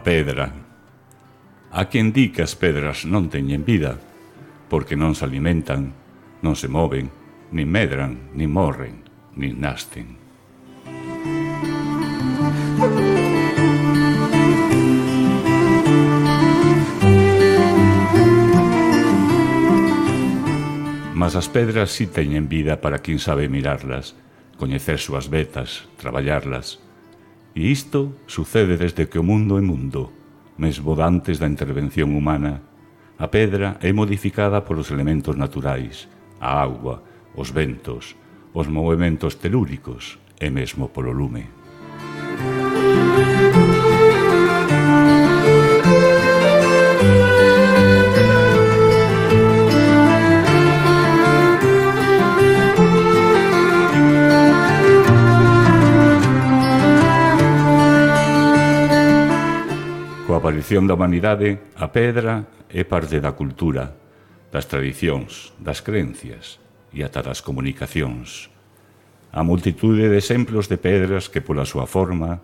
pedra. Há quen di que as pedras non teñen vida, porque non se alimentan, non se moven, nin medran, nin morren, nin nascen. Mas as pedras si teñen vida para quen sabe mirarlas, coñecer súas vetas, traballarlas. E isto sucede desde que o mundo é mundo, mesmo dantes da intervención humana. A pedra é modificada polos elementos naturais, a auga, os ventos, os movementos telúricos e mesmo polo lume. Coa aparición da humanidade, a pedra é parte da cultura, das tradicións, das creencias e ata das comunicacións. A multitude de exemplos de pedras que pola súa forma,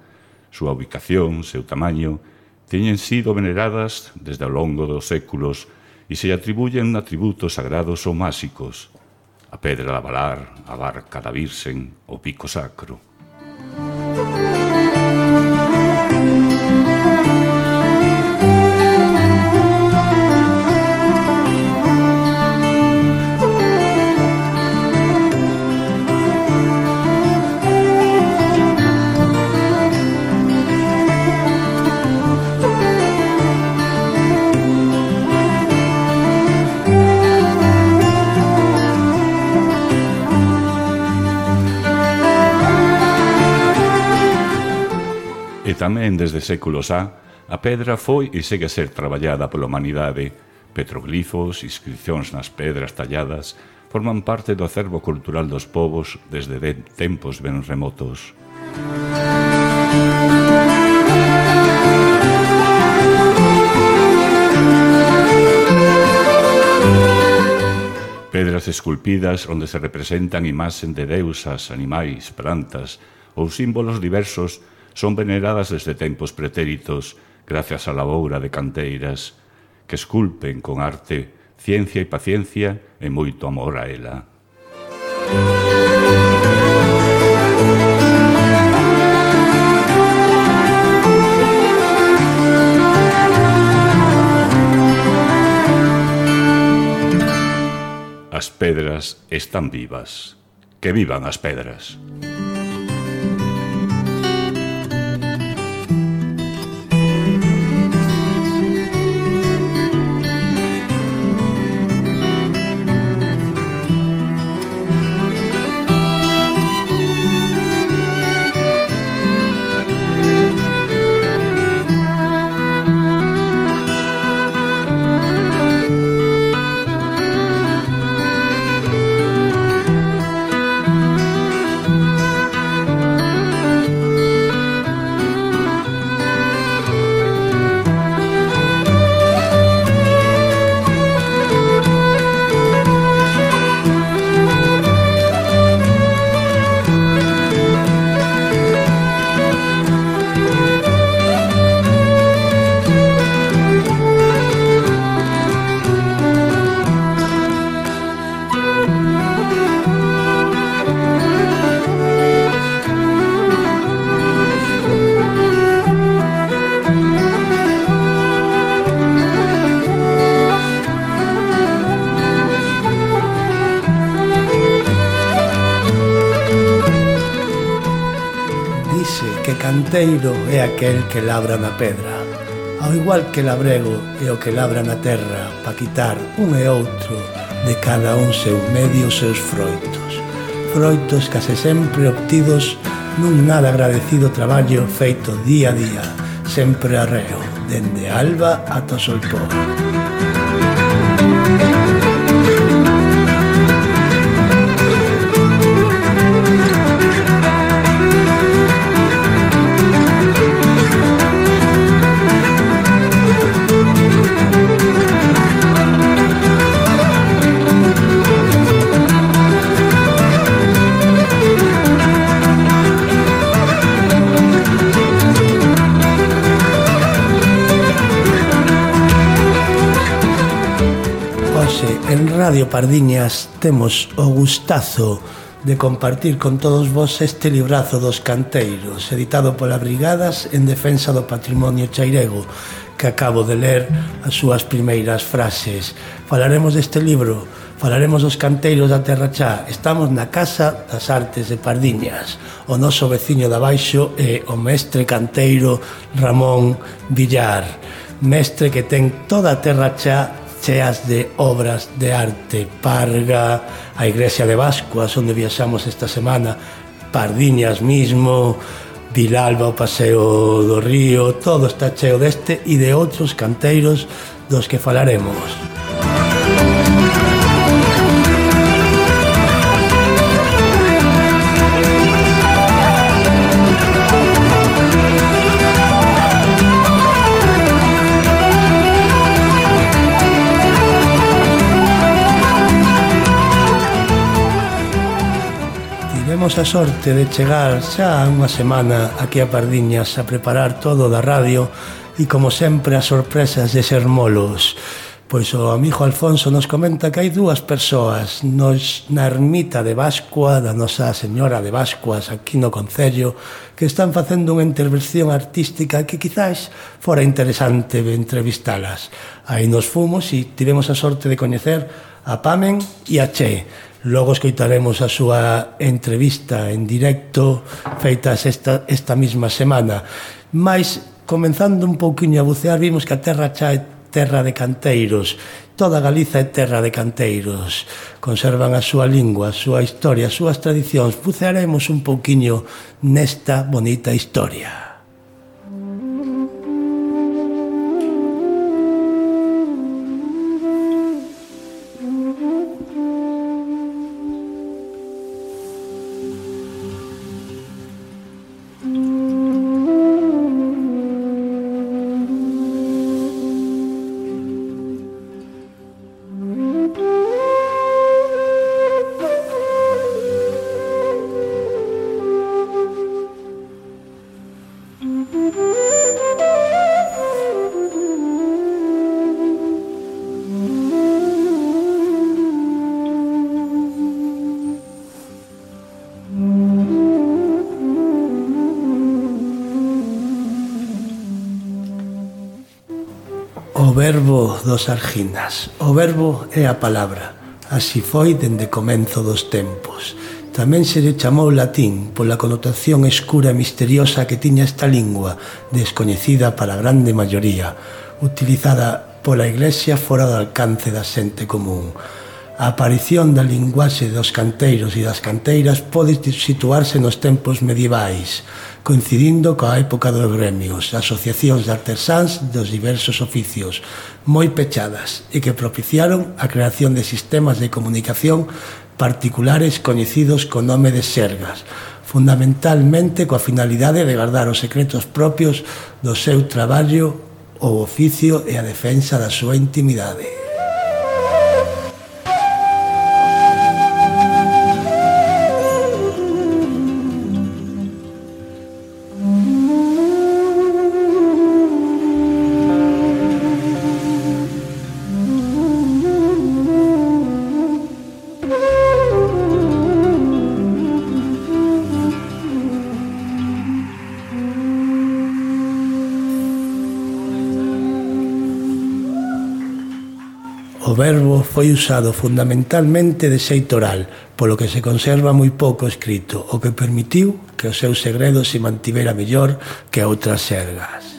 súa ubicación, seu tamaño, teñen sido veneradas desde ao longo dos séculos e se atribuyen atributos sagrados ou máxicos. A pedra da Valar, a barca da Virxen, o pico sacro. E tamén desde séculos a pedra foi e segue a ser traballada pola humanidade. Petroglifos, inscripcións nas pedras talladas, forman parte do acervo cultural dos povos desde tempos ben remotos. Pedras esculpidas onde se representan imaxen de deusas, animais, plantas ou símbolos diversos son veneradas desde tempos pretéritos gracias á laboura de canteiras que esculpen con arte, ciencia e paciencia e moito amor a ela. As pedras están vivas. Que vivan as pedras. Canteiro é aquel que labra na pedra, ao igual que labrego é o que labra na terra pa quitar un e outro de cada un seu medio os seus froitos. Froitos case sempre obtidos nun nada agradecido traballo feito día a día, sempre arreo, dende alba ata o solpón. Radio Pardiñas temos o gustazo de compartir con todos vos este librazo dos canteiros, editado pola Brigadas en defensa do patrimonio chairego, que acabo de ler as súas primeiras frases. Falaremos deste libro, falaremos dos canteiros da Terra Chá. Estamos na Casa das Artes de Pardiñas. O noso veciño de abaixo é o mestre canteiro Ramón Villar, mestre que ten toda a Terra Chá cheas de obras de arte. Parga, a Iglesia de Bascuas, onde viaxamos esta semana, Pardiñas mismo, Vilalba, o Paseo do Río, todo está cheo deste e de outros canteiros dos que falaremos. Tivemos a sorte de chegar xa unha semana aquí a Pardiñas a preparar todo da radio e, como sempre, as sorpresas de ser molos. Pois o amigo Alfonso nos comenta que hai dúas persoas na ermita de Bascua, da Nosa Señora de Bascuas, aquí no concello, que están facendo unha intervención artística que quizás fora interesante entrevistalas. Aí nos fomos e tivemos a sorte de coñecer a Pamen e a Che. Logo escoitaremos a súa entrevista en directo feitas esta mesma semana. Mais, comenzando un pouquiño a bucear, vimos que a Terra Chá é terra de canteiros. Toda Galiza é terra de canteiros. Conservan a súa lingua, a súa historia, as súas tradicións. Bucearemos un pouquiño nesta bonita historia. O verbo dos Arginas. O verbo é a palabra. Así foi dende comenzo dos tempos. Tamén se lle chamou latín pola connotación escura e misteriosa que tiña esta lingua, descoñecida para a grande maioría, utilizada pola Iglesia fora do alcance da xente común. A aparición da linguaxe dos canteiros e das canteiras pode situarse nos tempos medievais, coincidindo coa época dos gremios, asociacións de artesáns dos diversos oficios, moi pechadas e que propiciaron a creación de sistemas de comunicación particulares coñecidos co nome de xergas, fundamentalmente coa finalidade de guardar os secretos propios do seu traballo ou oficio e a defensa da súa intimidade. O verbo foi usado fundamentalmente de xeito oral, polo que se conserva moi pouco escrito, o que permitiu que o seu segredo se mantivera mellor que outras xergas.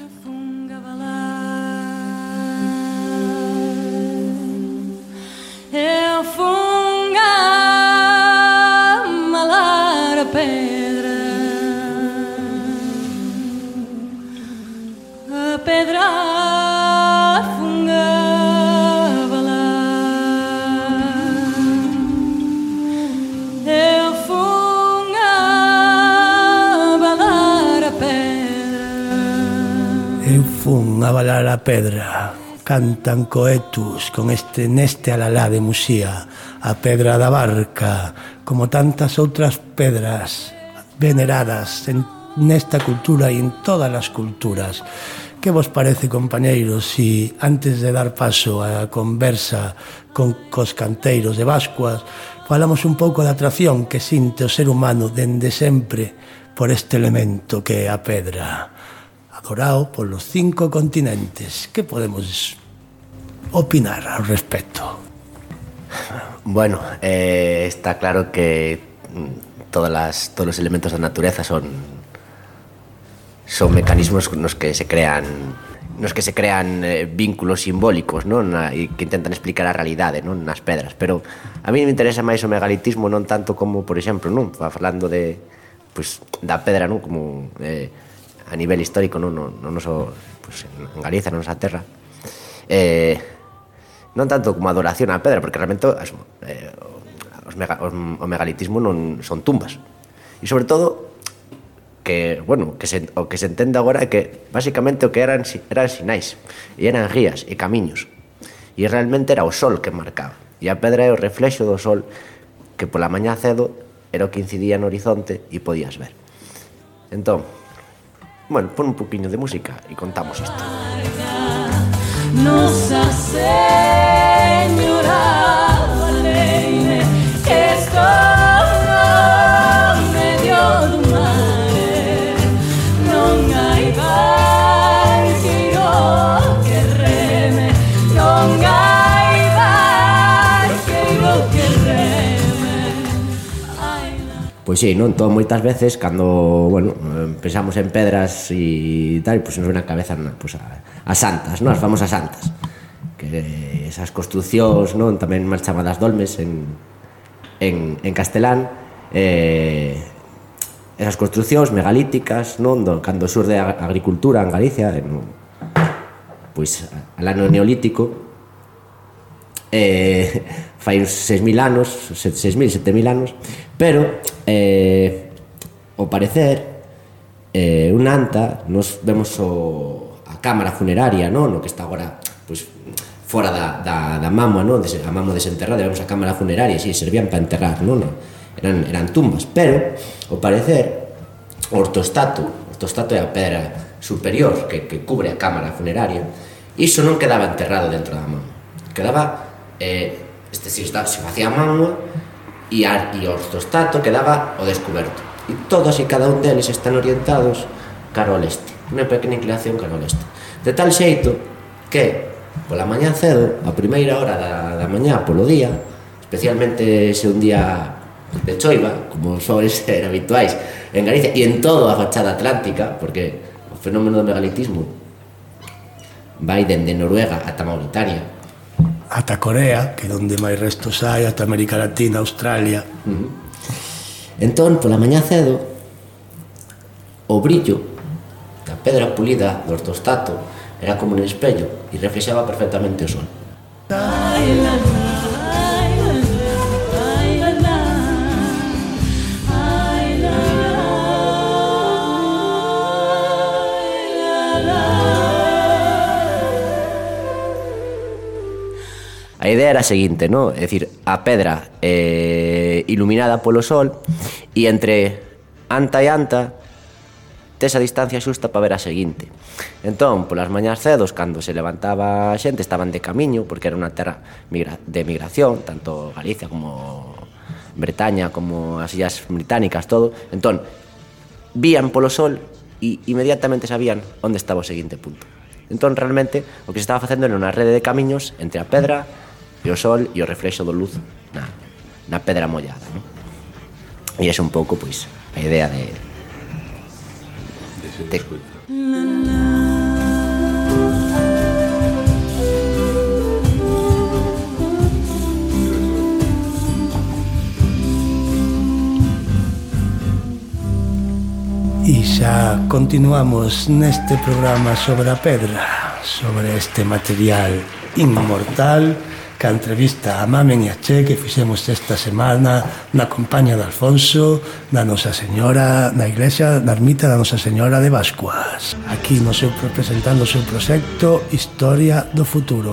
Eu funga malar a pedra fun a balar a pedra. Cantan coetus con neste alalá de Muxía, a pedra da barca, como tantas outras pedras veneradas en nesta cultura e en todas as culturas. Que vos parece, compañeiros, si antes de dar paso á conversa cos canteiros de Bascuas falamos un pouco da atracción que sinte o ser humano dende sempre por este elemento que é a pedra, adorado polos 5 continentes? Que podemos opinar ao respecto? Bueno, está claro que todos os elementos da natureza son mecanismos nos que se crean vínculos simbólicos, non? E que intentan explicar a realidade, non? Nas pedras, pero a mí me interesa máis o megalitismo, non tanto como, por exemplo, non? Falando de, pues, da pedra, non? Como a nivel histórico, non? No noso, pues, en Galicia, na nosa terra, non tanto como adoración á pedra, porque realmente o megalitismo non son tumbas, e sobre todo que, bueno, o que se entende agora é que basicamente o que eran sinais e eran guías e camiños, e realmente era o sol que marcaba, e a pedra é o reflexo do sol que pola mañá cedo era o que incidía no horizonte e podías ver. Entón, bueno, pon un poquinho de música e contamos isto. Nosa Señora Valeine, estou no medio do mar, non hai barqueiro que reme, non hai barqueiro que reme. Pois sí, non? Todo moitas veces cando, bueno, pensamos en pedras e tal, pois nos ven a cabeza, pois, as santas, non? As famosas santas, que esas construcións, non? Tamén máis chamadas dolmes en castelán, esas construcións megalíticas, non? Cando surde a agricultura en Galicia, pois alá no Neolítico, fai uns 6.000 anos, 6.000, 7.000 anos, pero ao parecer un anta, nos vemos a cámara funeraria, non? No que está agora, pois, fora da mámoa, non? A mámoa desenterrada, vemos a cámara funeraria, si, servían para enterrar, non? Eran tumbas, pero ao parecer o ortostato é a pedra superior que cubre a cámara funeraria, iso non quedaba enterrado dentro da mámoa, quedaba se facía a mámoa e o ortostato quedaba ao descoberto, e todos e cada un deles están orientados cara ao leste, unha pequena inclinación cara ao leste, de tal xeito que pola mañá cedo, a primeira hora da mañá polo día, especialmente se un día de choiva, como soen ser habituais en Galicia e en toda a fachada atlántica, porque o fenómeno do megalitismo vai dende Noruega ata Mauritania, ata Corea, que é onde máis restos hai, ata América Latina, Australia. Entón, pola mañá cedo, o brillo da pedra pulida do ortostato era como un espello e reflexaba perfectamente o sol. A idea era a seguinte, non? É dicir, a pedra iluminada polo sol e entre anta e anta tes a distancia xusta para ver a seguinte. Entón, polas mañás cedos, cando se levantaba a xente, estaban de camiño, porque era unha terra de migración, tanto Galicia como Bretaña, como as illas británicas, todo. Entón, vían polo sol e inmediatamente sabían onde estaba o seguinte punto. Entón, realmente, o que se estaba facendo era unha rede de camiños entre a pedra e o sol e o reflexo do luz na pedra mollada, non? E é un pouco, pois, a idea de E xa continuamos neste programa sobre a pedra, sobre este material inmortal, que a entrevista a Mamen e a Che que fixemos esta semana na compañía de Alfonso, da Nosa Señora, na iglesia, na ermita da Nosa Señora de Bascuas, aquí no seu presentando o seu proxecto Historia do Futuro.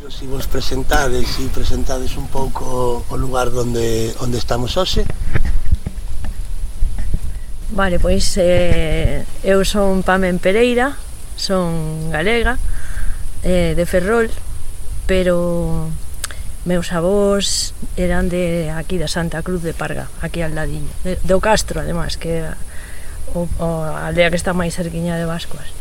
Se vos presentades un pouco o lugar onde estamos hoxe. Vale, pois eu son Pamen Pereira, son galega, de Ferrol, pero meus avós eran de aquí da Santa Cruz de Parga, aquí al ladiño, do Castro, además, que é a aldea que está máis cerquiña de Bascuas.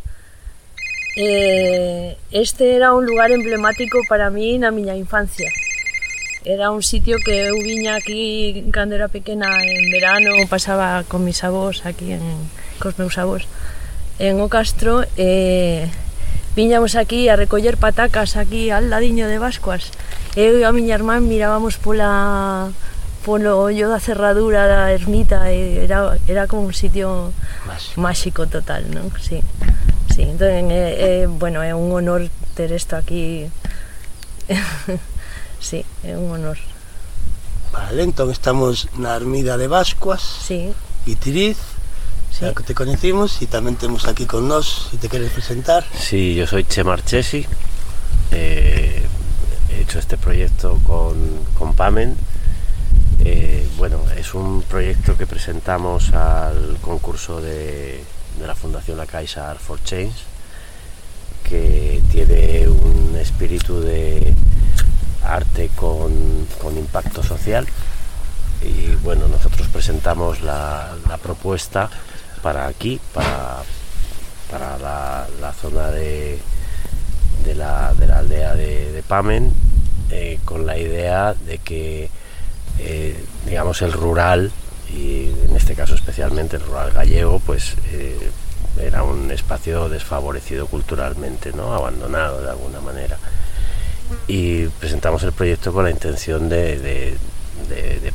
Este era un lugar emblemático para mí na miña infancia. Era un sitio que eu viña aquí cando era pequena en verano, pasaba con mis avós aquí, cos meus avós, en O Castro, viñamos aquí a recoller patacas aquí al ladiño de Bascuas. Eu e a miña irmán mirábamos polo ollo da cerradura da ermita, e era como un sitio máxico total, non? Sí, sí. Entón, bueno, é un honor ter isto aquí. Sí, é un honor. Vale, entón estamos na ermida de Bascuas, sí. Guitiriz, sí. Que te conocimos, y tamén temos aquí con nós, si te queres presentar. Sí, yo soy Che Marchesi, he hecho este proyecto con Pamen. Bueno, es un proyecto que presentamos al concurso de la Fundación La Caixa Art for Change, que tiene un espíritu de arte con impacto social, y bueno, nosotros presentamos la propuesta para aquí, para la zona de la aldea de Pamen, con la idea de que digamos el rural, y en este caso especialmente el rural gallego, pues era un espacio desfavorecido culturalmente, ¿no? Abandonado de alguna manera. Y presentamos el proyecto con la intención de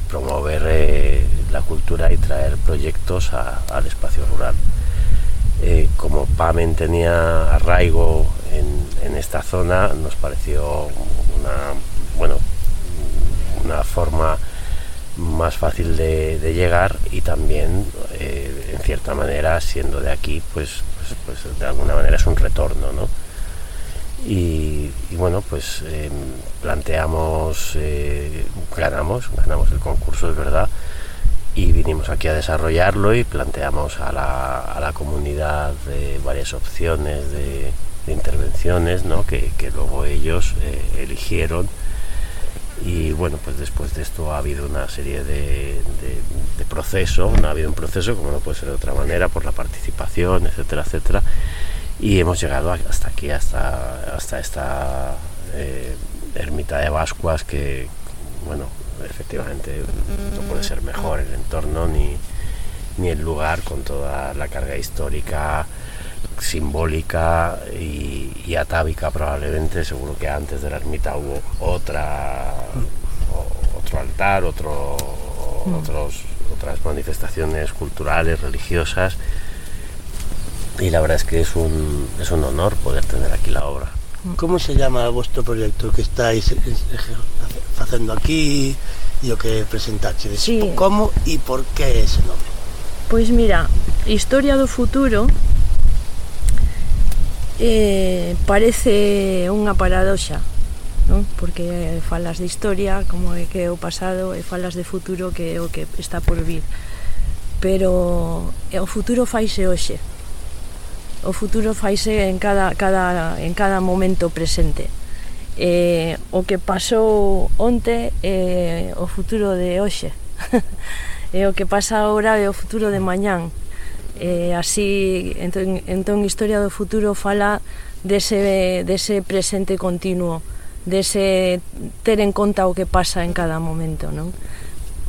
promover la cultura y traer proyectos al espacio rural. Como Pamen tenía arraigo en esta zona, nos pareció una forma más fácil de llegar, y también en cierta manera, siendo de aquí, pues de alguna manera es un retorno, ¿no? Y bueno, pues planteamos, ganamos el concurso, es verdad, y vinimos aquí a desarrollarlo, y planteamos a la comunidad varias opciones de intervenciones, ¿no? que luego ellos eligieron. Y bueno, pues después de esto ha habido una serie de proceso, no ha habido un proceso, como no puede ser de otra manera, por la participación, etcétera, etcétera. Y hemos llegado hasta aquí, hasta esta ermita de Bascuas, que, bueno, efectivamente no puede ser mejor el entorno ni el lugar, con toda la carga histórica, simbólica y atávica probablemente. Seguro que antes de la ermita hubo otro altar, otras manifestaciones culturales, religiosas. Y la verdad es que es un honor poder tener aquí la obra. Como se llama vuestro proyecto que estáis facendo aquí e o que presentaches? Sí. Como e por que ese nome? Pois mira, Historia do Futuro parece unha paradoxa, non? Porque falas de historia como é que é o pasado, e falas de futuro que é o que está por vir, pero o futuro faise hoxe. O futuro faise en cada momento presente. O que pasou onte é o futuro de hoxe. E o que pasa agora é o futuro de mañán. Así, entón Historia do Futuro fala dese presente continuo, dese ter en conta o que pasa en cada momento, non?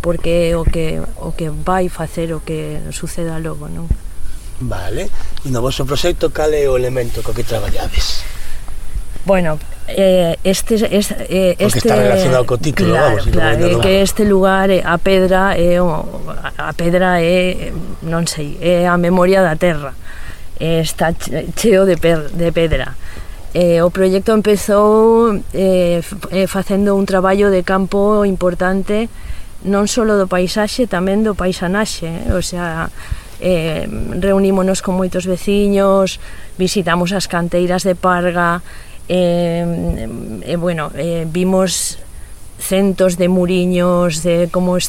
Porque o que vai facer o que suceda logo, non? Vale, e no vosso proxecto cal é o elemento co que traballades? Bueno, este está relacionado co título, claro, vamos, claro, que este lugar, a pedra é non sei, é a memoria da terra, está cheo de pedra. O proxecto empezou facendo un traballo de campo importante, non só do paisaxe, tamén do paisanaxe, o sea, reunímonos con moitos veciños, visitamos as canteiras de Parga, bueno, vimos centos de muriños, de como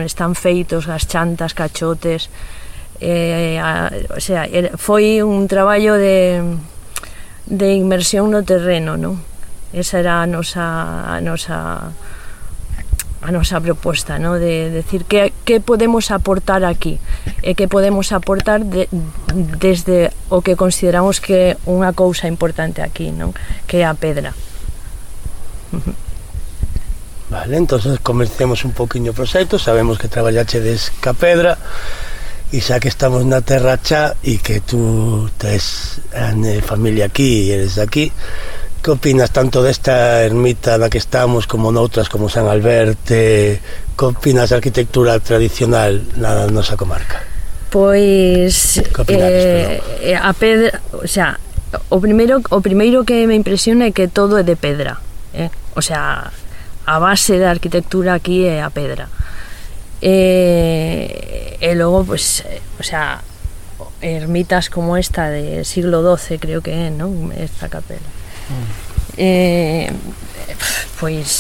están feitos as chantas, cachotes, O sea, foi un traballo de inmersión no terreno, non? Esa era a nosa proposta, ¿no? De decir que podemos aportar aquí e que podemos aportar desde o que consideramos que é unha cousa importante aquí, ¿no? Que é a pedra. Vale, entonces comencemos un poquinho o proxecto. Sabemos que traballachedes ca pedra e xa que estamos na terra xa e que tú tes familia aquí e eres de aquí, que opinas tanto desta ermita na que estamos como noutras como San Alberte? Que opinas da arquitectura tradicional na nosa comarca? Pois a pedra, o sea, o primeiro que me impresiona é que todo é de pedra, o sea, a base da arquitectura aquí é a pedra. E logo, pues, o sea, ermitas como esta de siglo XII, creo que é, non? Esta capela. Pois,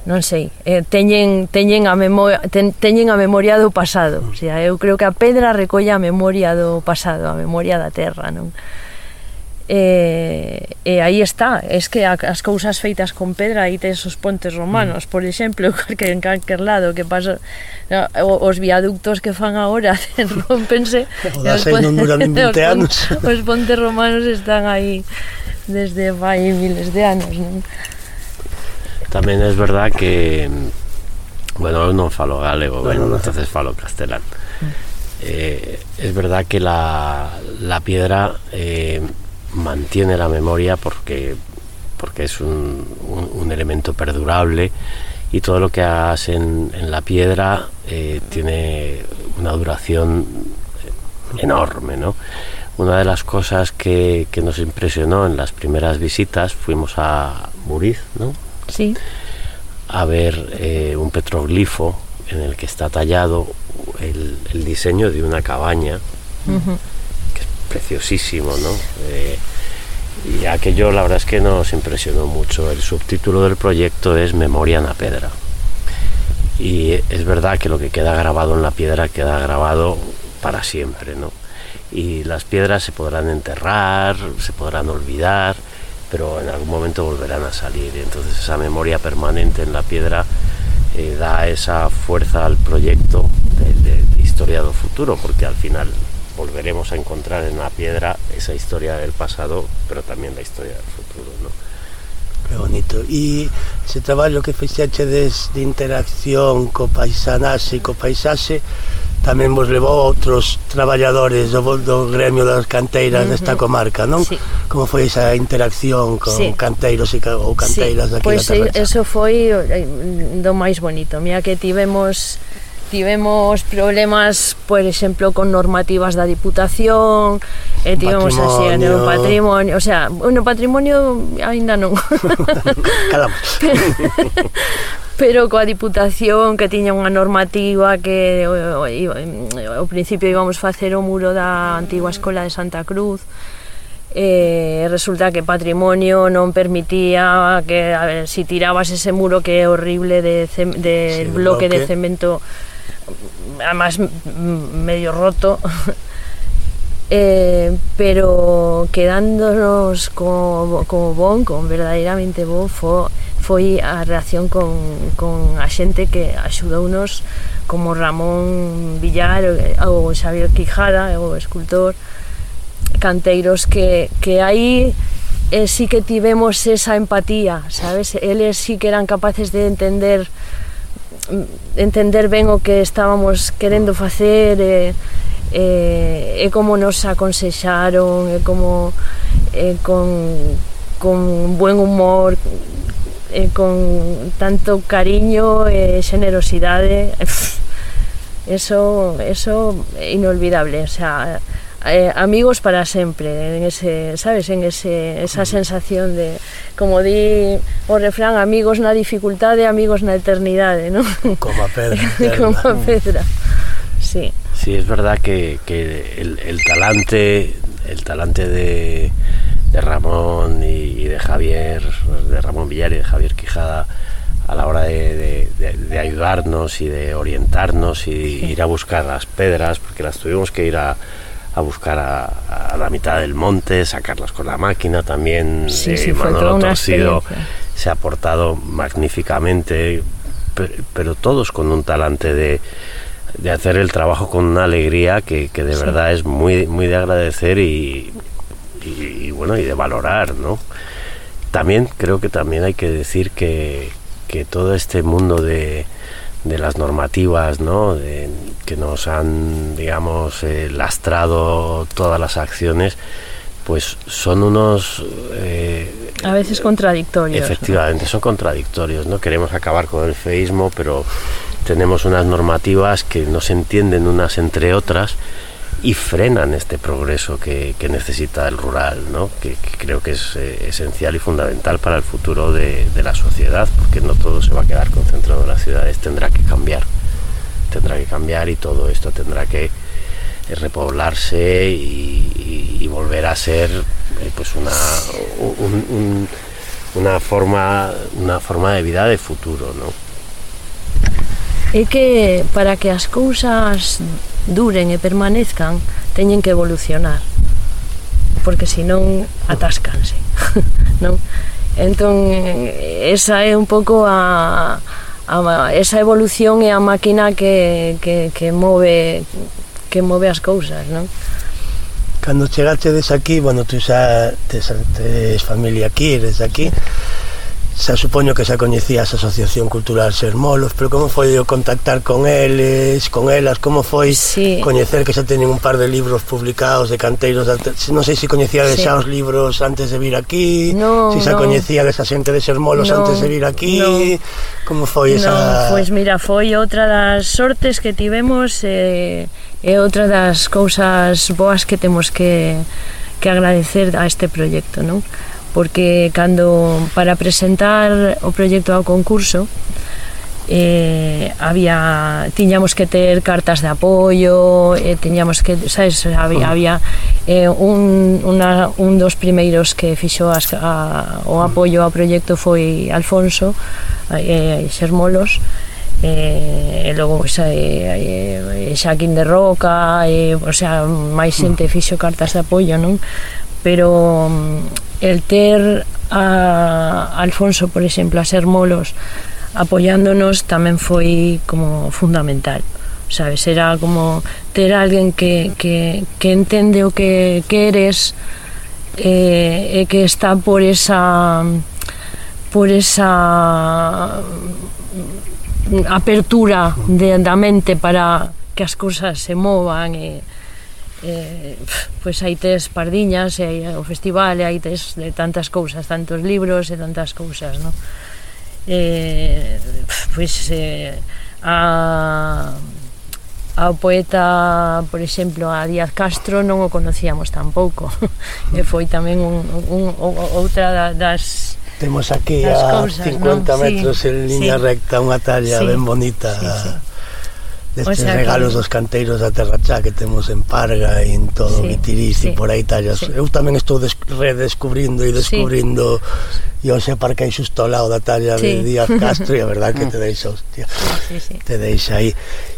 non sei, teñen a memoria do pasado. O sea, eu creo que a pedra recolle a memoria do pasado, a memoria da terra, non? E aí está, es que as cousas feitas con pedra, aí tes os pontes romanos, por exemplo, que en calquer lado que pasa, os viaductos que fan agora rompense, os pontes romanos están aí desde vai miles de anos, non? Tamén é verdad que, bueno, eu non falo galego, entonces falo castelán. Es verdad que la piedra mantiene la memoria porque es un elemento perdurable, y todo lo que hagas en la piedra tiene una duración enorme, ¿no? Una de las cosas que nos impresionó en las primeras visitas, fuimos a Muriz, ¿no? Sí. A ver un petroglifo en el que está tallado el diseño de una cabaña, que es preciosísimo, ¿no? Y aquello, la verdad es que nos impresionó mucho. El subtítulo del proyecto es Memoria na Pedra, y es verdad que lo que queda grabado en la piedra queda grabado para siempre, ¿no? Y las piedras se podrán enterrar, se podrán olvidar, pero en algún momento volverán a salir, y entonces esa memoria permanente en la piedra da esa fuerza al proyecto de historia do futuro, porque al final volveremos a encontrar en la piedra esa historia del pasado, pero también la historia del futuro, ¿no? Que bonito. E ese traballo que fixechedes de interacción co paisanaxe e co paisaxe tamén vos levou a outros traballadores do gremio das canteiras desta comarca, non? Sí. Como foi esa interacción con canteiros ou canteiras daqui da terra? Pois eso foi do máis bonito. Mira que tivemos problemas, por exemplo, con normativas da Diputación, e tivemos así no patrimonio, o sea, no patrimonio aínda non. Calamos. Pero coa Diputación, que tiña unha normativa que ao principio íbamos facer o muro da antigua escola de Santa Cruz, resulta que patrimonio non permitía que, a ver, si tirabas ese muro que é horrible de bloque de cemento, además medio roto, pero quedándonos como verdadeiramente bon, foi a reacción con a xente que axudounos, como Ramón Villar ou Xavier Quijada, o escultor, canteiros que aí sí que tivemos esa empatía, sabes? Eles sí que eran capaces de entender ben o que estábamos querendo facer, e como nos aconsexaron, e como con buen humor, con tanto cariño e generosidade. Eso é inolvidable, o sea, amigos para sempre, en ese, sabes, en esa sensación de, como di o refrán, amigos na dificultade, amigos na eternidade, ¿no? Como a pedra. Como a pedra, sí. Sí, es verdad que el talante de Ramón y de Javier, de Ramón Villar y de Javier Quijada, a la hora de ayudarnos y de orientarnos y ir a buscar las pedras, porque las tuvimos que ir a buscar a la mitad del monte, sacarlas con la máquina también. Manolo Torcido se ha portado magníficamente, pero todos con un talante de hacer el trabajo con una alegría que de verdad es muy, muy de agradecer y bueno, y de valorar, ¿no? También creo que también hay que decir que todo este mundo de las normativas, ¿no? Que nos han, digamos, lastrado todas las acciones, pues son unos... a veces contradictorios. Efectivamente, ¿no? Son contradictorios, ¿no? Queremos acabar con el feísmo, pero tenemos unas normativas que no se entienden unas entre otras y frenan este progreso que necesita el rural, ¿no? Que creo que es esencial y fundamental para el futuro de la sociedad, porque no todo se va a quedar concentrado en las ciudades, tendrá que cambiar y todo esto tendrá que repoblarse y volver a ser pues una forma de vida de futuro, ¿no? É que para que as cousas duren e permanezcan teñen que evolucionar, porque senón atáscanse, non? Entón esa é un pouco esa evolución é a máquina que move as cousas, non? Cando chegachedes aquí, bueno, tú xa tes familia aquí, eres aquí, xa supoño que xa coñecías a Asociación Cultural Sermolos, pero como foi o contactar con eles, con elas, como foi coñecer que xa teñen un par de libros publicados de canteiros, non sei se coñecíades xa os libros antes de vir aquí, se xa coñecíades a xente de Sermolos antes de vir aquí, como foi esa... Pois mira, foi outra das sortes que tivemos e outra das cousas boas que temos que agradecer a este proxecto, non? Porque para presentar o proxecto ao concurso tiñamos que ter cartas de apoio, tiñamos que, sabes, había un dos primeiros que fixo o apoio ao proxecto foi Alfonso Sermolos, e logo Xaquín de Roca, o sea, máis xente fixo cartas de apoio, non? Pero el ter a Alfonso, por exemplo, a Sermolos apoiándonos tamén foi como fundamental, sabes? Era como ter alguén que entende o que queres e que está por esa apertura da mente para que as cousas se movan pois aí tes Pardiñas, e o festival, e aí tes de tantas cousas, tantos libros e tantas cousas, non? Pois ao poeta, por exemplo, a Díaz Castro non o conocíamos tampouco, e foi tamén outra das... Temos aquí a 50 metros en línea recta unha talla ben bonita destes regalos dos canteiros da Terra Chá que temos en Parga e en todo Vitiriz e por aí tallas. Eu tamén estou redescubrindo e descubrindo e hoxe parquei xusto ao lado da talla de Díaz Castro e a verdad que te deixa, hostia, te deixa aí.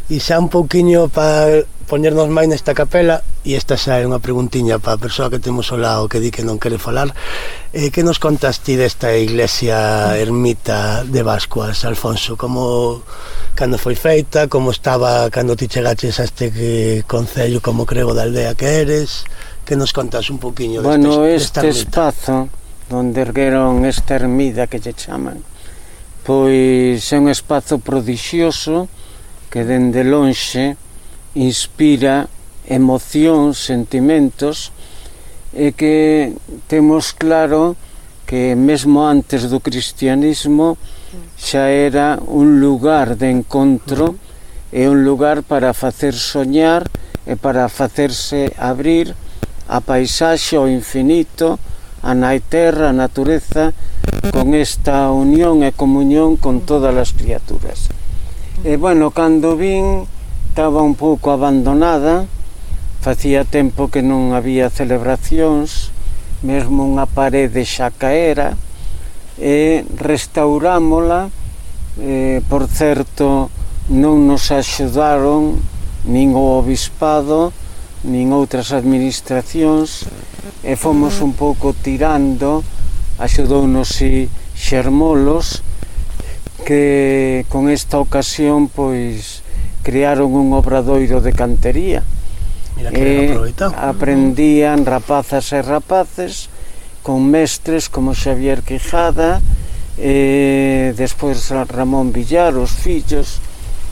E xa un pouquiño para poñernos máis nesta capela, e esta xa é unha preguntiña para a persoa que temos ao lado que di que non quere falar, que nos contas ti desta iglesia ermita de Bascuas, Alfonso? Como, cando foi feita, como estaba cando ti chegaches a este concello como crego da aldea que eres? Que nos contas un pouquiño desta este espazo onde ergueron esta ermida que lle chaman, pois é un espazo prodixioso que dende lonxe inspira emocións, sentimentos, e que temos claro que mesmo antes do cristianismo xa era un lugar de encontro e un lugar para facer soñar e para facerse abrir a paisaxe, ao infinito, a terra, a natureza, con esta unión e comunión con todas as criaturas. E, bueno, cando vin, estaba un pouco abandonada, facía tempo que non había celebracións, mesmo unha parede xa caera, e restaurámola por certo, non nos axudaron nin o obispado nin outras administracións, e fomos un pouco tirando. Axudounos Xermolos, que con esta ocasión pois crearon un obradoiro de cantería. Mira que ben aproveitado. Aprendían rapazas e rapaces con mestres como Xavier Quijada, despois Ramón Villar, os fillos,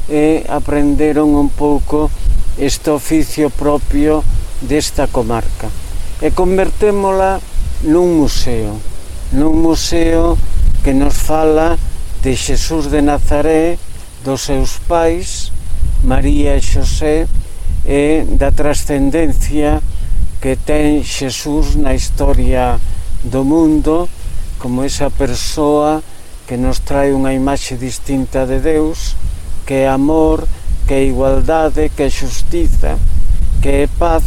e aprenderon un pouco este oficio propio desta comarca. E convertémola nun museo que nos fala de Xesús de Nazaré, dos seus pais, María e Xosé, e da trascendencia que ten Xesús na historia do mundo, como esa persoa que nos trae unha imaxe distinta de Deus, que é amor, que é igualdade, que é xustiza, que é paz,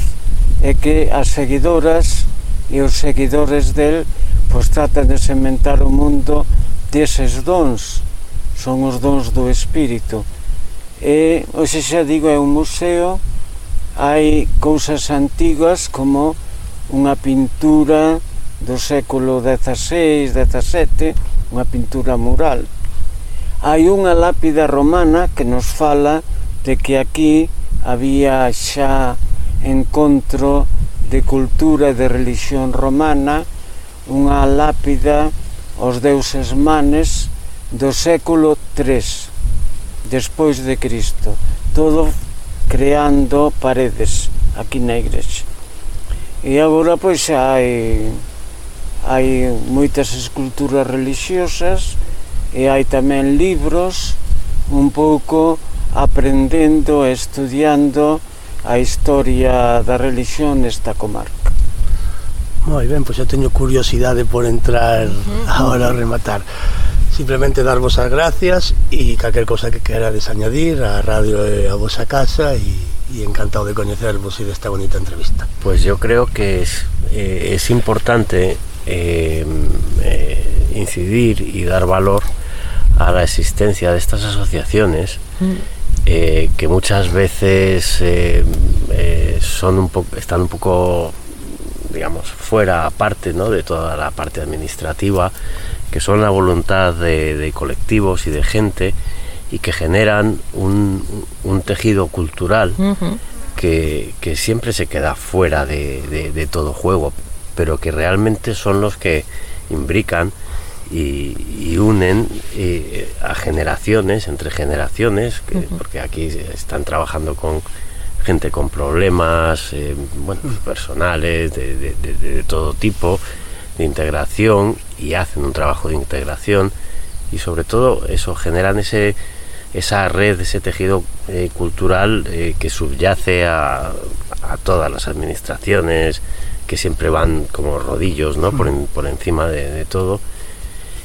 e que as seguidoras e os seguidores del pois tratan de sementar o mundo deses dons, son os dons do Espírito. E, hoxe xa digo, é un museo, hai cousas antigas como unha pintura do século XVI, XVII, unha pintura mural. Hai unha lápida romana que nos fala de que aquí había xa encontro de cultura e de religión romana, unha lápida aos deuses Manes do século III despois de Cristo, todo creando paredes aquí na igrexa. E agora pois xa hai moitas esculturas religiosas e hai tamén libros un pouco aprendendo e estudiando a historia da religión nesta comarca. Moi ben, pois eu teño curiosidade por entrar agora a rematar. Simplemente darvos as gracias e calquer cosa que querades añadir a radio e a vosa casa, e encantado de coñecervos e desta bonita entrevista. Pues yo creo que es importante incidir y dar valor a la existencia de estas asociaciones que muchas veces están un poco, digamos, fuera, aparte, ¿no?, de toda la parte administrativa, que son la voluntad de colectivos y de gente, y que generan un tejido cultural que siempre se queda fuera de todo juego, pero que realmente son los que imbrican y unen a generaciones, entre generaciones, porque aquí están trabajando con gente con problemas personales de todo tipo, de integración, y hacen un trabajo de integración, y sobre todo eso, generan esa red, ese tejido cultural que subyace a todas las administraciones, que siempre van como rodillos, ¿no?, por encima de todo,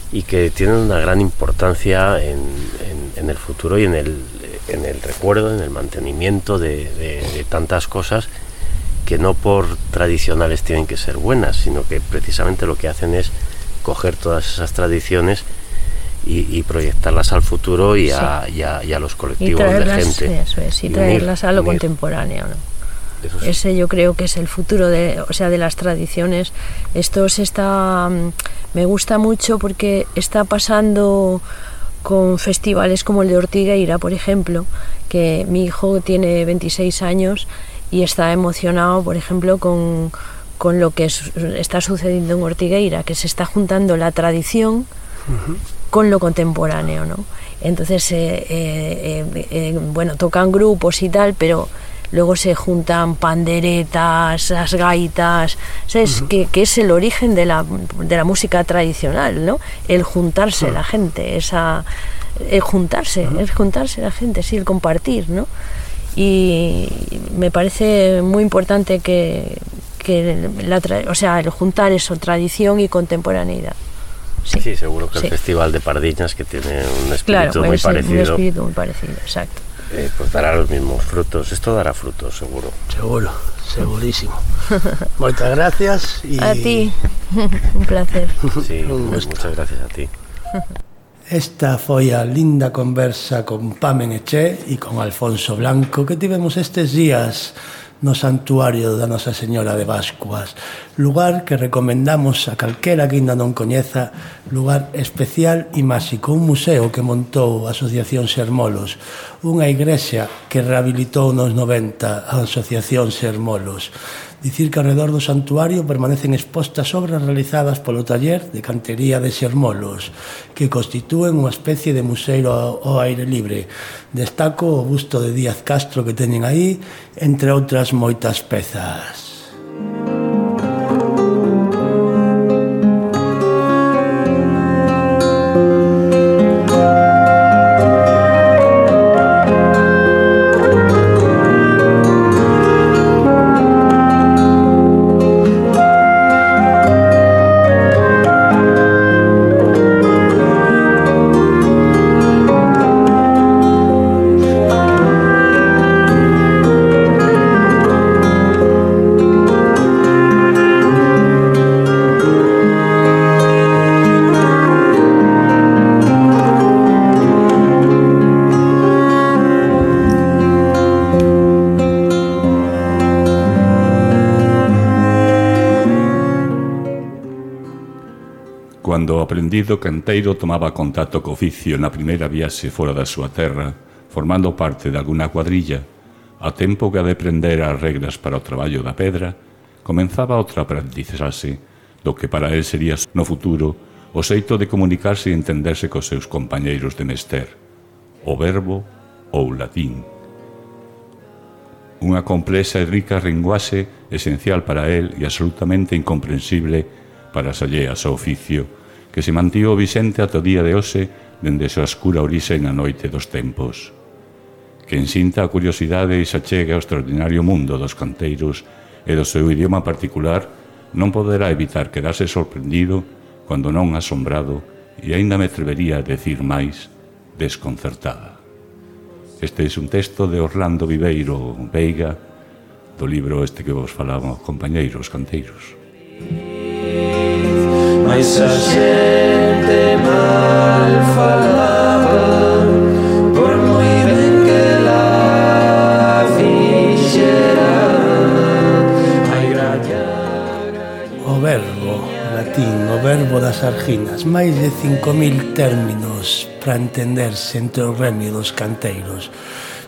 y que tienen una gran importancia en el futuro y en el recuerdo, en el mantenimiento de tantas cosas que no por tradicionales tienen que ser buenas, sino que precisamente lo que hacen es coger todas esas tradiciones y proyectarlas al futuro y a los colectivos de gente. Eso es, y traerlas a lo contemporáneo, ¿no? Ese yo creo que es el futuro de las tradiciones. Me gusta mucho porque está pasando con festivales como el de Ortigueira, por ejemplo, que mi hijo tiene 26 años y está emocionado, por ejemplo, con lo que está sucediendo en Ortigueira, que se está juntando la tradición con lo contemporáneo, ¿no? Entonces, tocan grupos y tal, pero luego se juntan panderetas, las gaitas, ¿sabes? Que es el origen de la música tradicional, ¿no? El juntarse la gente, el juntarse la gente, sí, el compartir, ¿no? Y me parece muy importante que el juntar eso, tradición y contemporaneidad. Sí, seguro que el Festival de Pardiñas, que tiene un espíritu muy parecido. Un espíritu muy parecido, exacto. Pues dará los mismos frutos. Esto dará frutos, seguro. Seguro, segurísimo. Muchas gracias. A ti, un placer. Sí, muchas gracias a ti. Esta foi a linda conversa con Pamen Eché e con Alfonso Blanco que tivemos estes días no santuario da Nosa Señora de Bascuas, lugar que recomendamos a calquera que ainda non coñeza, lugar especial e máxico, un museo que montou a Asociación Sermolos, unha igrexa que rehabilitou nos 90 a Asociación Sermolos. Dicir que ao redor do santuario permanecen expostas obras realizadas polo taller de cantería de Sermolos, que constitúen unha especie de museo ao aire libre. Destaco o busto de Díaz Castro que teñen aí, entre outras moitas pezas. Cando o aprendido canteiro tomaba contacto co oficio na primeira viaxe fora da súa terra, formando parte de alguna cuadrilla, a tempo que a de aprender as reglas para o traballo da pedra, comenzaba outra aprendizaxe do que para él sería no futuro o xeito de comunicarse e entenderse cos seus compañeiros de mester, o verbo ou latín. Unha complexa e rica linguaxe esencial para él e absolutamente incomprensible para as alleas ao oficio, que se mantivo vixente ata o día de hoxe dende a súa escura orixe na noite dos tempos. Quen sinta a curiosidade e se achegue ao extraordinario mundo dos canteiros e do seu idioma particular non poderá evitar quedarse sorprendido, cando non asombrado, e aínda me atrevería a decir máis, desconcertada. Este é un texto de Orlando Viveiro Veiga, do libro este que vos falamos, compañeiros canteiros. Mais a xente mal falaba, por moi ben que la fixera. O verbo, latín, o verbo das arginas, máis de 5.000 términos para entenderse entre o gremio dos canteiros.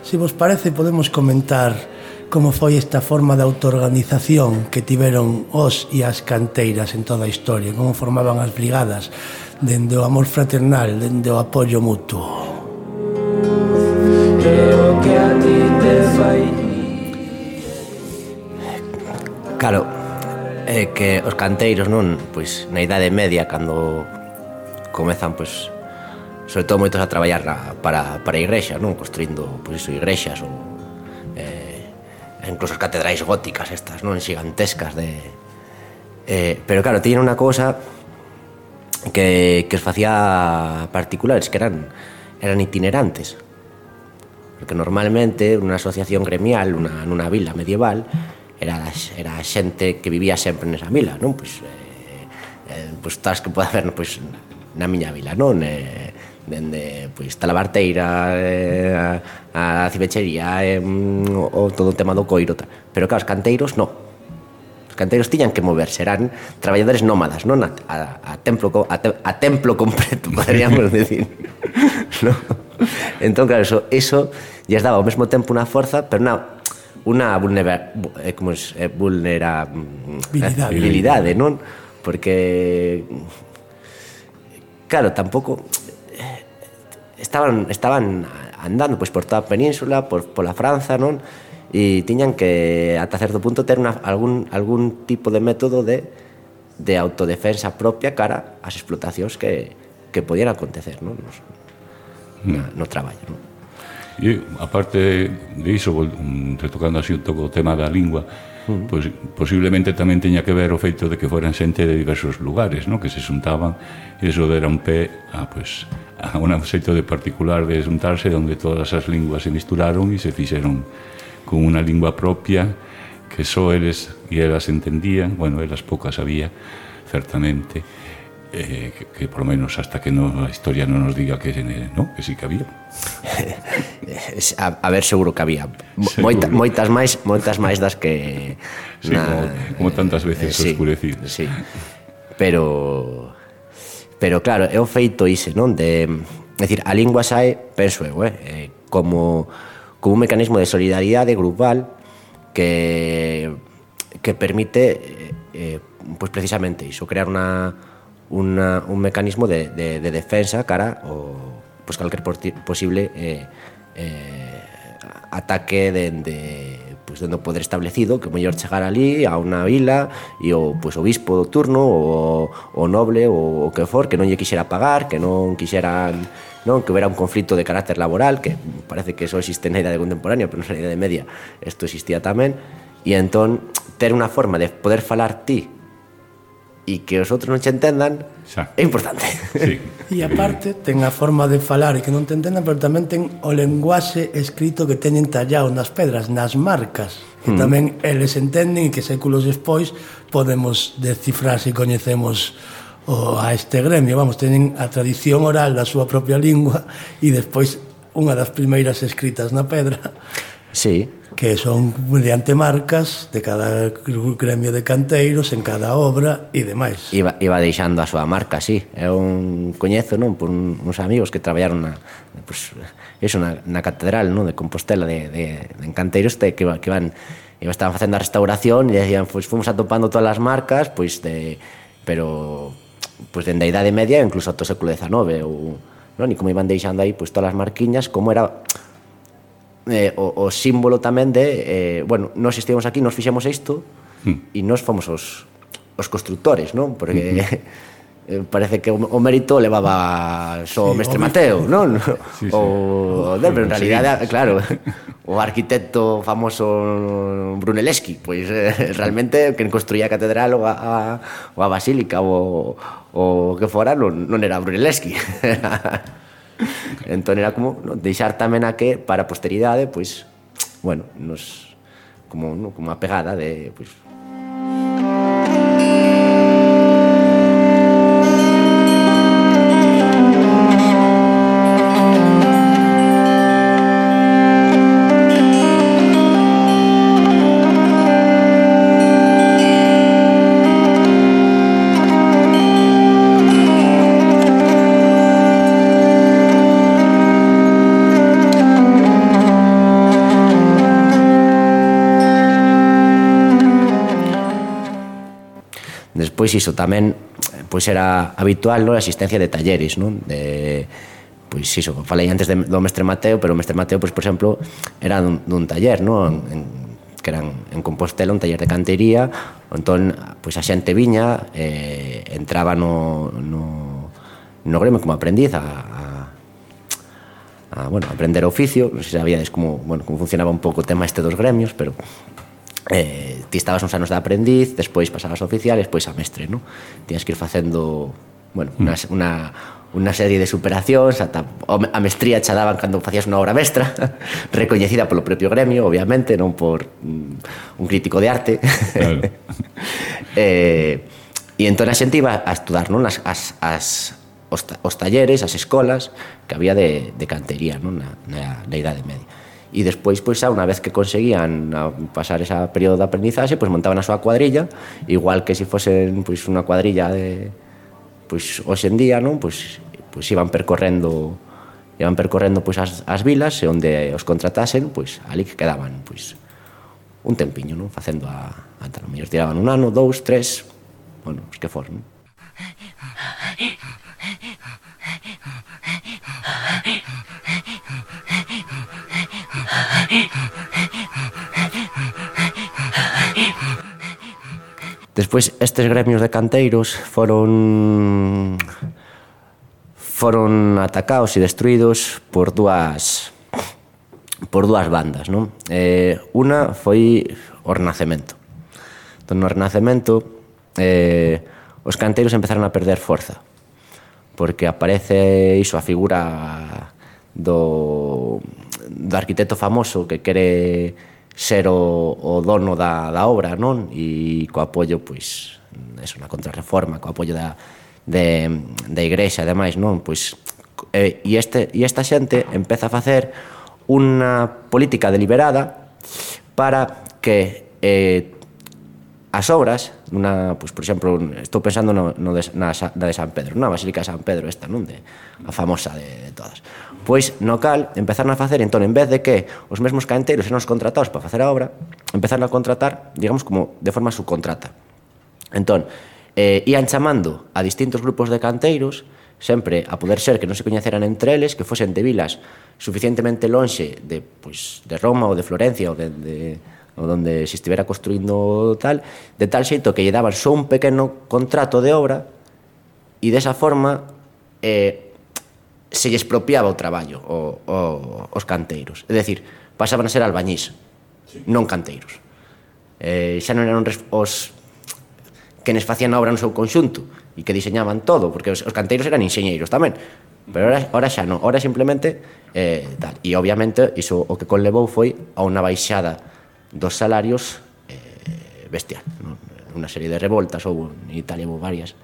Se vos parece, podemos comentar como foi esta forma de autoorganización que tiveron os e as canteiras en toda a historia, como formaban as brigadas, dende o amor fraternal, dende o apoio mutuo. Claro, é que os canteiros, non, pois na Idade Media, cando comezan, pois, sobre todo moitos a traballar para a igrexa, non, construindo, pois iso, igrexas ou incluso as catedrais góticas estas, non, xigantescas pero claro, tiñen unha cousa que os facía particulares, que eran itinerantes, porque normalmente unha asociación gremial nunha vila medieval era a xente que vivía sempre nesa vila, non, pois tas que pode haber, pois, na miña vila, non, dende, pois, talabarteira, a cibechería, o todo o tema do coiro, pero claro, os canteiros non. Os canteiros tiñan que moverse, eran traballadores nómadas, non, a templo completo, poderíamos decir, non? Entón, claro, eso lles daba ao mesmo tempo unha forza, pero unha vulnerabilidade, non? Porque, claro, tampouco estaban andando, pois, por toda a península, pola Franza, non? E tiñan que, ata certo punto, ter algún tipo de método de autodefensa propia cara ás explotacións que podían acontecer, non? No traballo, non? E, aparte diso, retocando así un pouco o tema da lingua, pois posiblemente tamén teña que ver o feito de que foran xente de diversos lugares, non? Que se xuntaban e iso dera un pé a un xeito de particular de xuntarse onde todas as linguas se misturaron e se fixeron con unha lingua propia que só eles e elas entendían, bueno, elas poucas había, certamente, que por lo menos hasta que no, a historia non nos diga que no, que sí que había. A ver, seguro que había moitas máis das que sí, como tantas veces oscurecidas. Sí. Pero claro, é o feito ise, non? É dicir, a lingua sae, penso eu, como un mecanismo de solidaridade grupal que permite pues precisamente iso, crear un mecanismo de defensa cara ao pues calquer posible ataque dende o poder establecido, que mellor chegar ali a unha vila e o bispo do turno o noble ou o que for, que non lle quixera pagar, que non quixeran, non, que houbera un conflito de carácter laboral, que parece que só existe na idade contemporánea, pero na idade media isto existía tamén, e entón ter unha forma de poder falar ti e que os outros non te entendan é importante. Sí. E aparte ten a forma de falar e que non te entendan, pero tamén ten o lenguaxe escrito que teñen tallado nas pedras, nas marcas, que tamén eles entenden e que séculos despois podemos descifrar se coñecemos a este gremio. Vamos, teñen a tradición oral da súa propia lingua e despois unha das primeiras escritas na pedra. Sí. Que son mediante marcas de cada gremio de canteiros en cada obra e demais. Iba deixando a súa marca, sí. É un coñezo, non, por uns amigos que traballaron na catedral, non, de Compostela de canteiros que estaban facendo a restauración e decían, pois fomos atopando todas as marcas, pero dende a Idade Media incluso ata o século XIX, non, e como iban deixando aí todas as marquiñas, como era o símbolo tamén de nós estivemos aquí, nos fixemos isto e nós fomos os constructores, non? Porque parece que o mérito levaba só o mestre Mateo, non? Pero en realidade, claro, o arquitecto famoso Brunelleschi, pois realmente quen construía a catedral ou a basílica ou que fora non era Brunelleschi. Entón era como deixar tamén a que para a posteridade, pois, bueno, como a pegada de, pois, Pois iso tamén era habitual, non, a existencia de talleres, non, pois iso, falei antes do mestre Mateo, pero o mestre Mateo, pois, por exemplo, era dun taller, non, que eran en Compostela, un taller de cantería, entón, pois a xente viña, entraba no gremio como aprendiz a aprender oficio. Non sei se sabíades como funcionaba un pouco o tema este dos gremios, pero ti estabas uns anos de aprendiz, despois pasabas a oficial e despois a mestre, non? Tías que ir facendo, unha serie de superacións, ata a mestría xa daban cando facías unha obra mestra, recoñecida polo propio gremio, obviamente, non por un crítico de arte. Claro. E entón a xente iba a estudar, non, os talleres, as escolas que había de cantería, non, na Idade Media. E despois, unha vez que conseguían pasar ese período de aprendizaxe, montaban a súa cuadrilla, igual que se fosen unha cuadrilla de hoxe en día, non? Iban percorrendo as vilas e onde os contratasen, ali que quedaban un tempiño, non? Facendo ata o mellor tiraban un ano, 2, 3, os que for, non? Despois, estes gremios de canteiros foron atacados e destruídos por dúas bandas, non? Unha foi o Renacemento. Entón, no Renacemento, os canteiros empezaron a perder forza, porque aparece iso, a figura do arquitecto famoso que quere ser o dono da obra, non? E co apoio, na contrarreforma, co apoio da igrexa e demais, non? Pois, e esta xente empeza a facer unha política deliberada para que as obras, pois, por exemplo, estou pensando na de San Pedro, na Basílica de San Pedro esta, non? A famosa de todas. Pois, no cal, empezaron a facer, entón, en vez de que os mesmos canteiros eran os contratados para facer a obra, empezaron a contratar, digamos, como de forma subcontrata. Entón, ian chamando a distintos grupos de canteiros, sempre a poder ser que non se coñeceran entre eles, que fosen de vilas suficientemente lonxe de Roma ou de Florencia ou donde se estivera construindo tal, de tal xeito que lle daban só un pequeno contrato de obra e desa forma se lle expropiaba o traballo os canteiros. É dicir, pasaban a ser albañís, non canteiros. Xa non eran os que nos facían a obra no seu conxunto e que diseñaban todo, porque os canteiros eran enxeñeiros tamén, pero ahora xa non, ahora simplemente tal. E obviamente iso o que conlevou foi a unha baixada dos salarios bestial, non? Unha serie de revoltas, ou en Italia houve varias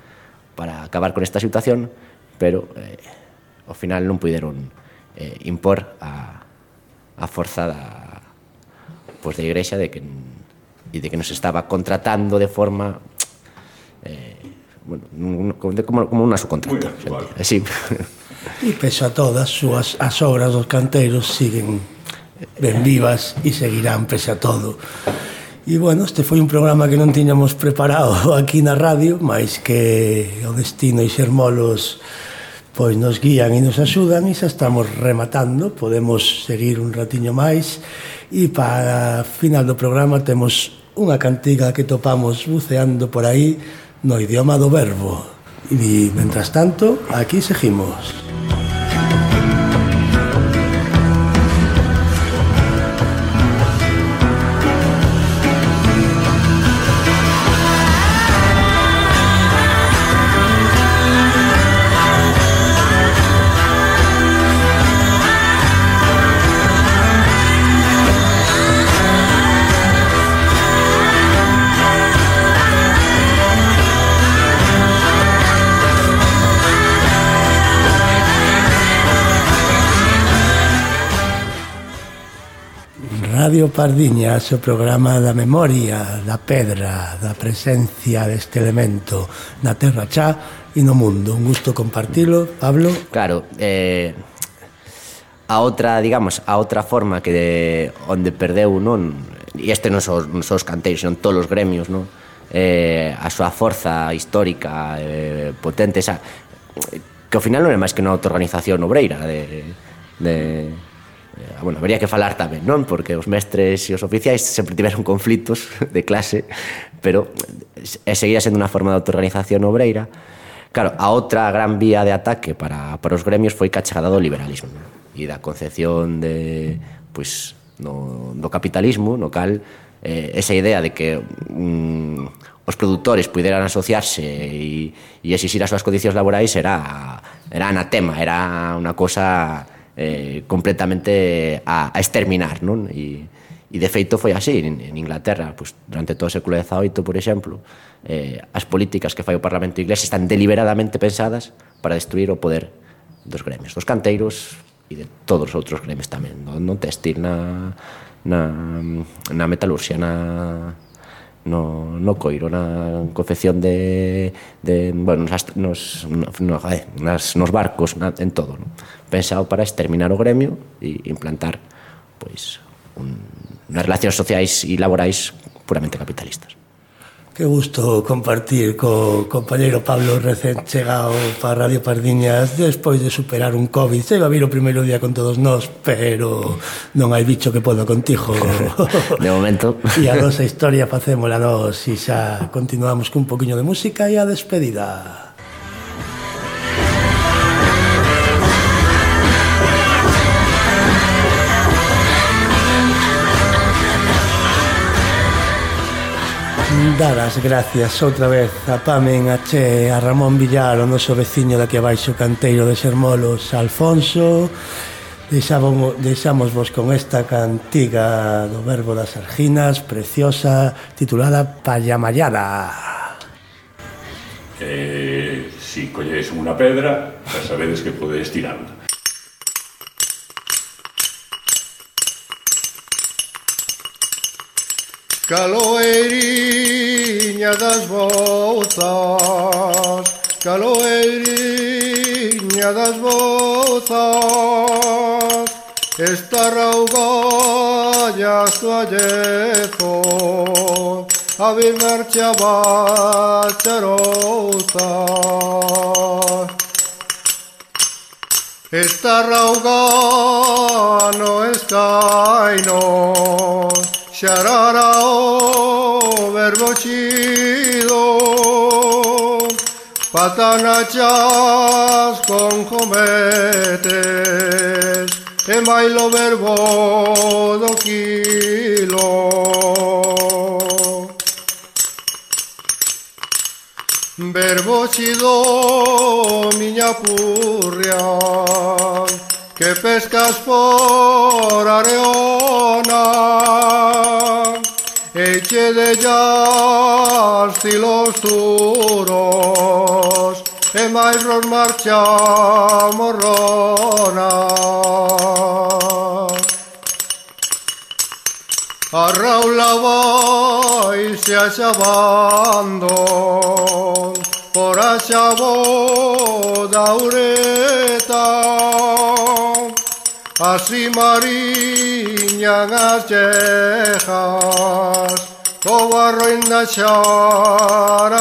para acabar con esta situación, pero ao final non puideron impor a forza da igrexa de que nos estaba contratando de forma como unha subcontrata. Sí. E pese a todas, as obras dos canteiros siguen ben vivas e seguirán pese a todo. E, bueno, este foi un programa que non tiñamos preparado aquí na radio, mais que o destino e Xermolos pois nos guían e nos axudan, e xa estamos rematando. Podemos seguir un ratiño máis, e para final do programa temos unha cantiga que topamos buceando por aí no idioma do verbo. E, mentras tanto, aquí seguimos. Radio Pardiñas, o programa da memoria, da pedra, da presencia deste elemento na terra xa e no mundo. Un gusto compartilo, Pablo. Claro, a outra forma que onde perdeu, non? E este non son os canteiros, son todos os gremios, non? A súa forza histórica potente, que ao final non é máis que unha autoorganización obreira bueno, habería que falar tamén, non? Porque os mestres e os oficiais sempre tiveron conflitos de clase, pero seguía sendo unha forma de autoorganización obreira. Claro, a outra gran vía de ataque para os gremios foi que a chegada do liberalismo, non? E da concepción do capitalismo, no cal esa idea de que os produtores puderan asociarse e exixir as súas condicións laborais era anatema, era unha cosa completamente a exterminar, non? E de feito foi así en Inglaterra, pois, durante todo o século XVIII, por exemplo, as políticas que fai o Parlamento inglés están deliberadamente pensadas para destruir o poder dos gremios, dos canteiros e de todos os outros gremios tamén, no textil, na metalurxia, no coiro, na confección nos barcos, en todo, non? Pensado para exterminar o gremio e implantar unhas relacións sociais e laborais puramente capitalistas. Que gusto compartir co compañeiro Pablo recén chegado para Radio Pardiñas despois de superar un COVID. Se iba a vir o primeiro día con todos nós, pero non hai bicho que poda contigo. De momento. E a nosa historia facémola nós e xa continuamos con un poquinho de música e a despedida. Dar as gracias outra vez a Pamen, a Che, a Ramón Villar, o noso veciño daqui abaixo, canteiro de Xermolos, Alfonso. Deixámosvos con esta cantiga do Verbo das Arginas, preciosa, titulada Payamayada. Sí. Si colledes unha pedra, xa sabedes que podedes tirarla. Caloeiriña das bouzas, caloeiriña das bouzas, esta raugalla suallezo, a vir marchaba charouza. Esta rauga no escaino, xarara o verbo chido, patanachas con jometes, e mailo verbo do quilo. Verbo chido, miña purria, que pescas por areona, eche de llas tilos duros, e máis nos marcha morrona. A raula vai se axabando por a xabo da ureta, así mariñan as chejas, co barro inda xarajeta.